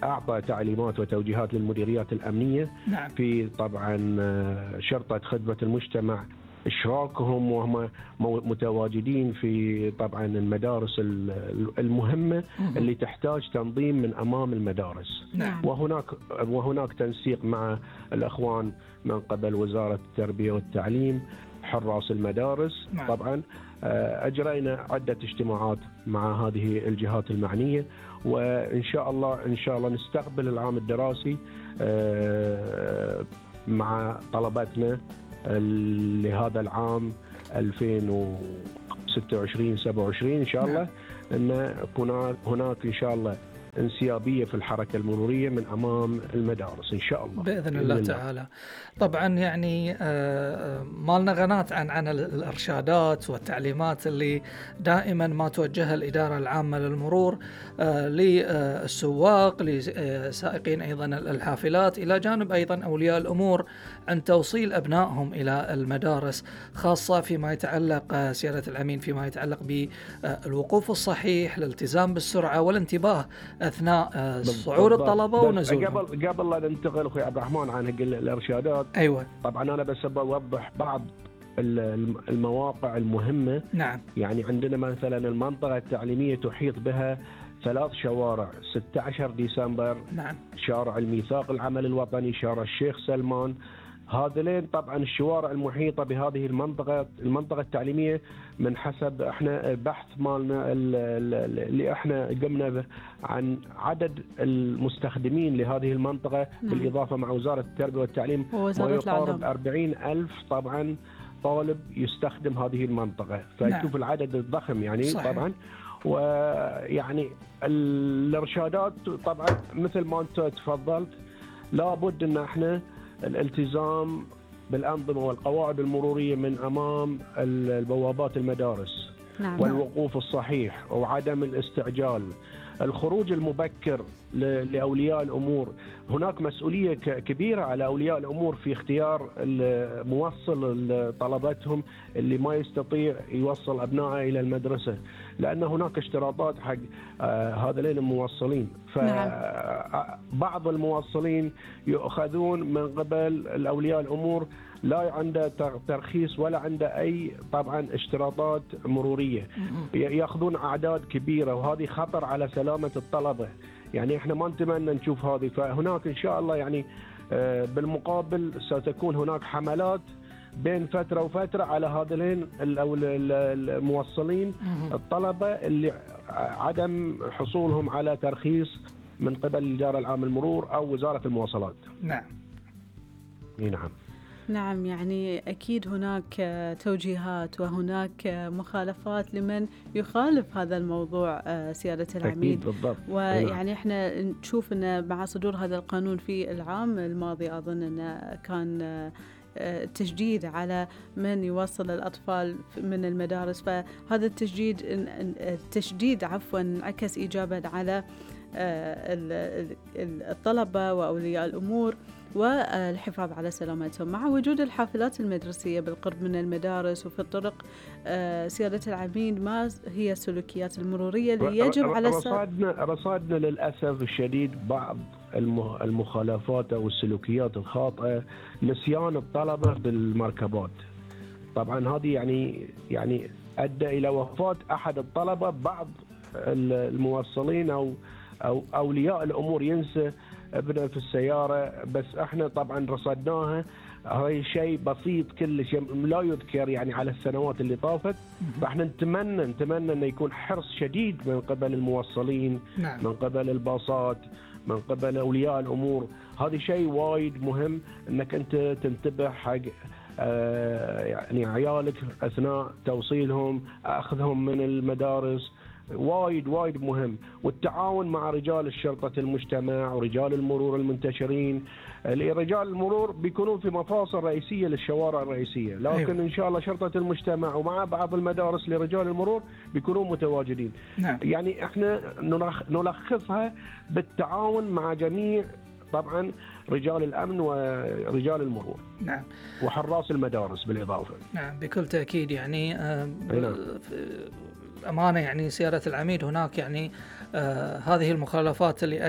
أعطى تعليمات وتوجيهات للمديريات الأمنية نعم. في طبعا شرطة خدمة المجتمع، إشراكهم وهم متواجدين في طبعا المدارس المهمة اللي تحتاج تنظيم من أمام المدارس. نعم. وهناك تنسيق مع الأخوان من قبل وزارة التربية والتعليم، حراس المدارس. نعم. طبعا أجرينا عدة اجتماعات مع هذه الجهات المعنية، وإن شاء الله نستقبل العام الدراسي مع طلبتنا لهذا العام 2026-27 إن شاء الله، أن هناك إن شاء الله انسيابية في الحركة المرورية من أمام المدارس إن شاء الله بإذن الله تعالى. طبعا يعني مالنا قناة عن الإرشادات والتعليمات اللي دائما ما توجهها الإدارة العامة للمرور للسواق، لسائقين أيضا الحافلات، إلى جانب أيضا أولياء الأمور عن توصيل أبنائهم إلى المدارس، خاصة فيما يتعلق سيادة الأمين فيما يتعلق بالوقوف الصحيح، الالتزام بالسرعة والانتباه أثناء صعود الطلبة ونزولهم. قبل لا ننتقل أخوي عبد الرحمن عن الإرشادات، أيوة. طبعا أنا بس أوضح بعض المواقع المهمة. نعم. يعني عندنا مثلا المنطقة التعليمية تحيط بها 3 شوارع: 16 ديسمبر، نعم، شارع الميثاق العمل الوطني، شارع الشيخ سلمان. هذين طبعا الشوارع المحيطة بهذه المنطقة التعليمية، من حسب احنا البحث مالنا اللي احنا قمنا به عن عدد المستخدمين لهذه المنطقة، بالإضافة مع وزارة التربية والتعليم ما يقارب 40,000 طبعا طالب يستخدم هذه المنطقة، فيشوف العدد الضخم يعني. صحيح. طبعا ويعني الإرشادات طبعا مثل ما أنت تفضلت، لابد أن احنا الالتزام بالأنظمة والقواعد المرورية من أمام البوابات المدارس. نعم. والوقوف الصحيح وعدم الاستعجال، الخروج المبكر لأولياء الأمور. هناك مسؤولية كبيرة على أولياء الأمور في اختيار الموصل طلبتهم اللي ما يستطيع يوصل أبنائه إلى المدرسة، لأن هناك اشتراطات حق هذين الموصلين. فبعض الموصلين يؤخذون من قبل الأولياء الأمور لا عنده ترخيص ولا عنده أي طبعا اشتراطات مرورية، يأخذون أعداد كبيرة، وهذه خطر على سلامة الطلبة. يعني احنا ما نتمنى نشوف هذه. فهناك إن شاء الله يعني بالمقابل ستكون هناك حملات بين فترة وفترة على هذين الموصلين الطلبة اللي عدم حصولهم على ترخيص من قبل الإدارة العامة للمرور أو وزارة المواصلات. نعم. نعم. نعم، يعني أكيد هناك توجيهات وهناك مخالفات لمن يخالف هذا الموضوع سيادة العميد. أكيد بالضبط. ويعني احنا نشوف أن مع صدور هذا القانون في العام الماضي أظن أنه كان تشديد على من يوصل الأطفال من المدارس، فهذا التشديد انعكس إيجابا على الطلبة وأولياء الأمور والحفاظ على سلامتهم. مع وجود الحافلات المدرسية بالقرب من المدارس وفي الطرق، سيادة العميد، ما هي السلوكيات المرورية اللي يجب على رصادنا للأسف الشديد بعض المخالفات أو السلوكيات الخاطئة، نسيان الطلبة بالمركبات. طبعا هذه يعني أدى إلى وفاة أحد الطلبة. بعض الموصلين أو أولياء الأمور ينسى ابنه في السيارة، بس احنا طبعا رصدناها. هاي شيء بسيط كلش لا يذكر يعني على السنوات اللي طافت. فاحنا نتمنى أن يكون حرص شديد من قبل الموصلين. نعم. من قبل الباصات، من قبل أولياء الأمور. هذا شيء وايد مهم أنك أنت تنتبه حق يعني عيالك أثناء توصيلهم، أخذهم من المدارس. وايد مهم. والتعاون مع رجال الشرطة المجتمع ورجال المرور المنتشرين. رجال المرور بيكونون في مفاصل رئيسية للشوارع الرئيسية، لكن أيوة. إن شاء الله شرطة المجتمع ومع بعض المدارس لرجال المرور بيكونون متواجدين. نعم. يعني احنا نلخصها بالتعاون مع جميع طبعا رجال الأمن ورجال المرور. نعم. وحراس المدارس بالإضافة. نعم بكل تأكيد. يعني أمانة يعني سيادة العميد، هناك يعني هذه المخالفات اللي